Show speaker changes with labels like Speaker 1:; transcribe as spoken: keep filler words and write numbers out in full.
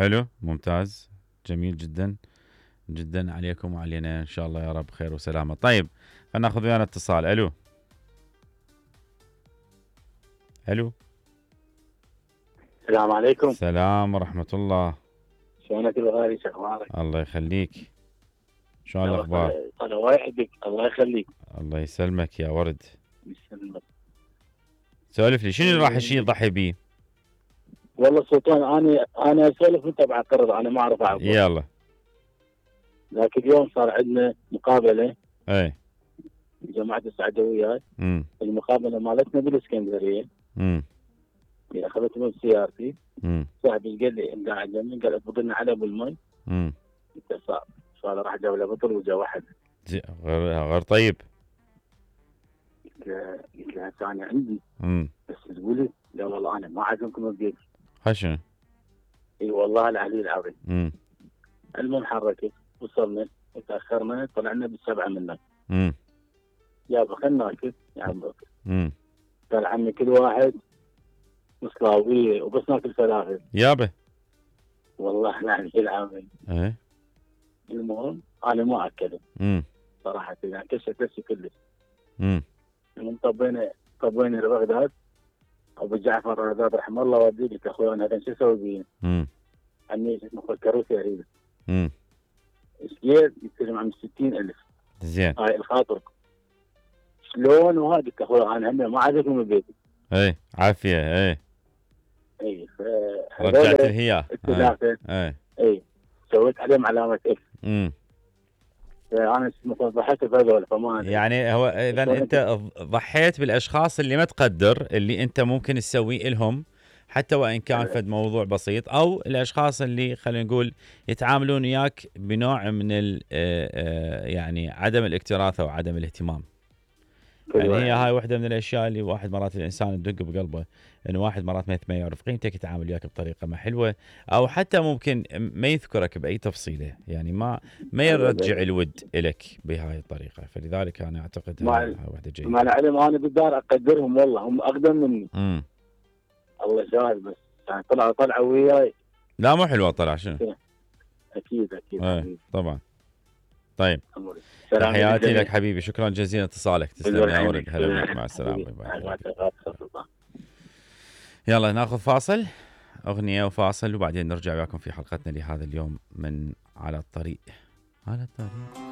Speaker 1: حلو ممتاز جميل جدا جدا عليكم وعلينا ان شاء الله يا رب خير وسلامه. طيب خلينا ناخذ ويانا اتصال. الو الو
Speaker 2: السلام عليكم.
Speaker 1: السلام ورحمه الله.
Speaker 2: شلونك الغالي شو اخبارك؟
Speaker 1: الله يخليك. شلون الاخبار؟
Speaker 2: الله يحبك الله يخليك.
Speaker 1: الله يسلمك يا ورد.
Speaker 2: يسلمك.
Speaker 1: سولف لي شنو اللي راح الشيء يضحي بيه؟
Speaker 2: والله سلطان انا انا اسولف وانت بعترض انا ما اعرف اعبر.
Speaker 1: يلا.
Speaker 2: لكن اليوم صار عندنا مقابله.
Speaker 1: اي.
Speaker 2: جماعه السعدويات.
Speaker 1: امم.
Speaker 2: المقابله مالتنا بالاسكندريه.
Speaker 1: امم.
Speaker 2: اخذت من سيارتي.
Speaker 1: امم.
Speaker 2: صاحبي قال لي قاعد جنبي قال افضلنا على ابو المي.
Speaker 1: امم.
Speaker 2: قلت صعب صار راح جاب له بطل وجا واحد.
Speaker 1: غير غير طيب.
Speaker 2: قلت له هسه انا عندي.
Speaker 1: امم.
Speaker 2: بس تقولي لا والله انا ما عازمكم ببيتي.
Speaker 1: خشنه.
Speaker 2: اي والله العلي العظيم.
Speaker 1: امم.
Speaker 2: المهم حركت وصلنا وتاخرنا طلعنا بالسبعه منا.
Speaker 1: امم.
Speaker 2: يابا خلنا ناكل يا عم بكر.
Speaker 1: امم.
Speaker 2: قال عمي كل واحد مصلاويه وبس ناكل فلافل.
Speaker 1: يابا.
Speaker 2: والله العلي العظيم.
Speaker 1: ايه.
Speaker 2: المهم انا ما اكلت.
Speaker 1: امم.
Speaker 2: صراحه يعني كشت نفسي كلش.
Speaker 1: امم.
Speaker 2: المهم طبينا طبينا لبغداد. ابو جعفر بغداد رحمه الله ودي قلت اخوي انا هذا شو اسوي بيه؟
Speaker 1: امم.
Speaker 2: عمي اسمه كروسي اريد.
Speaker 1: امم.
Speaker 2: ايش قد؟ يستلم عم ستين ألف.
Speaker 1: زين.
Speaker 2: هاي الخاطر. شلون وهذا قلت اخوي انا هم ما عازمكم ببيتي.
Speaker 1: اي عافيه اي.
Speaker 2: اي ف
Speaker 1: رجعت الهياه.
Speaker 2: الثلاثه.
Speaker 1: اي.
Speaker 2: اي سويت عليهم علامه اكس.
Speaker 1: امم.
Speaker 2: انا ضحيت بهذول فما
Speaker 1: يعني هو اذا انت ضحيت بالاشخاص اللي ما تقدر اللي انت ممكن تسوي لهم حتى وان كان فد موضوع بسيط او الاشخاص اللي خلينا نقول يتعاملون وياك بنوع من يعني عدم الاكتراث او عدم الاهتمام. يعني هي هاي واحده من الاشياء اللي واحد مرات الانسان تدق بقلبه انه واحد مرات ما يعرف قيمتك يتعامل وياك بطريقه ما حلوه او حتى ممكن ما يذكرك باي تفصيله يعني ما ما يرجع الود لك بهاي الطريقه. فلذلك انا اعتقد هاي واحده جيده.
Speaker 2: مع العلم انا بالدار اقدرهم والله هم اقدم مني.
Speaker 1: امم.
Speaker 2: الله شاهد بس يعني طلعوا طلعوا وياي.
Speaker 1: لا مو حلوه طلع شنو؟
Speaker 2: اكيد اكيد
Speaker 1: ايه طبعا. طيب تحياتي لك حبيبي شكرا جزيلا اتصالك تسلم يا ولد. هلا بك مع السلامه. يلا ناخذ فاصل اغنيه وفاصل وبعدين نرجع وياكم في حلقتنا لهذا اليوم من على الطريق. على الطريق.